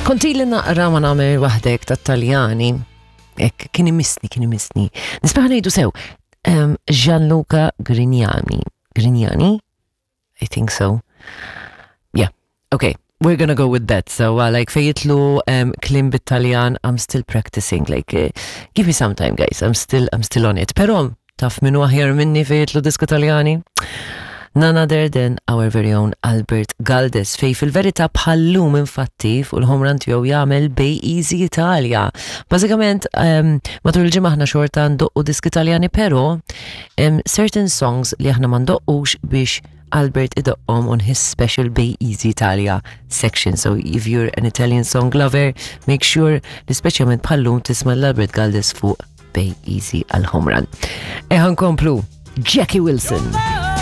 Kont ili naqra ma nagħmel waħdek tat-Taljani. Ek, kien imissni, kien imissni. Nisbaħ ngħidu sew. Um, Gianluca Grignani. Grignani? I think so. Yeah, okay. We're gonna go with that. So, uh, like, fejitlu um, klim bit-Taljan, I'm still practicing. Like, uh, give me some time, guys. I'm still, I'm still on it. Pero, taf minu aħjar minni fejitlu disku Taljani? None other than our very own Albert Galdes, fej fil-verità bħallum infatti fuq il-home run tiegħu jagħmel Bay Easy Italia. Bażikament, um, matul il-ġimgħa aħna xorta ndoqqu diski Taljani, però um, certain songs li aħna ma ndoqqux biex Albert idoqqhom on his special Bay Easy Italia section. So if you're an Italian song lover, make sure li speċjalment bħallum tisma' l-Albert Galdes fuq Bay Easy għal home run. Eħan komplu, Jackie Wilson.